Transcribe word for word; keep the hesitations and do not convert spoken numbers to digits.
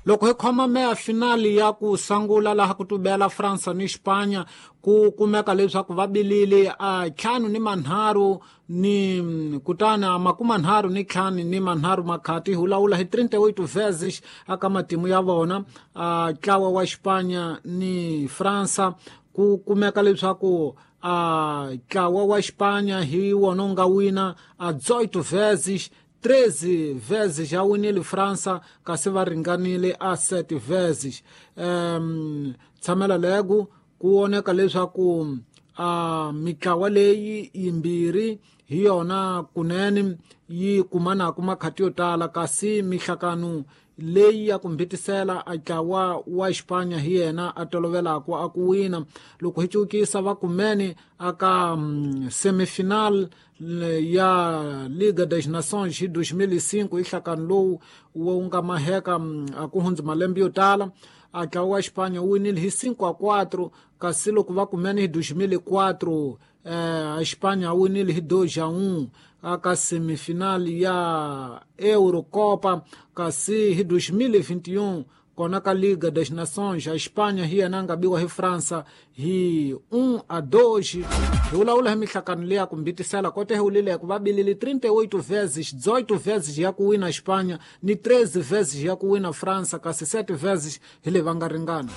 Loko hi khoma meya finali ya ku sungula laha ku tubela Fransa ni Xipanya, ku kumeka leswaku va bilile a ntlhanu ni manharhu ni kutani a makume nharhu ni ntlhanu ni manharhu makhati, hi lawula hi trinta e oito vezes aka matimu ya vona. A ntlawa wa Xipanya ni Fransa, ku kumeka leswaku a ntlawa wa Xipanya hi wona wu nga wina a dezoito vezes, treze vezes ya winile Fransa, kasi va ringanile a sete vezes. um tshamela lego ku voneka leswaku a mitlawa leyi yimbirhi hi yona kunene yi kumanaku makhati yo tala, kasi mihlakano leyi ya ku mbitisela a ntlawa wa Xipanya hi yena a tolovelaka a ku wina. Loko hi cukisa va kumene aka um, semifinal ya Liga das Nações hi dois mil e cinco, hi nhlakano lowu wu nga maheka a ku hundzi malembe yo tala, a ntlawa wa Xipanya wu winile hi cinco a quatro. Kasi loko va kumene hi dois mil e quatro, eh, a Xipanya a winile hi dois a um aka semifinal ya Eurocopa. Kasi hi dois mil e vinte e um, kona ka Liga das Nações, a Espanha hi yena nga biwa hi França hi um a dois. Hi vulavula hi mihlakano leya ku mbitisela kote hi wulileko va bilile trinta e oito vezes, dezoito vezes ya ku wina Espanha ni treze vezes ya ku wina França, kasi sete vezes hi le va nga ringana.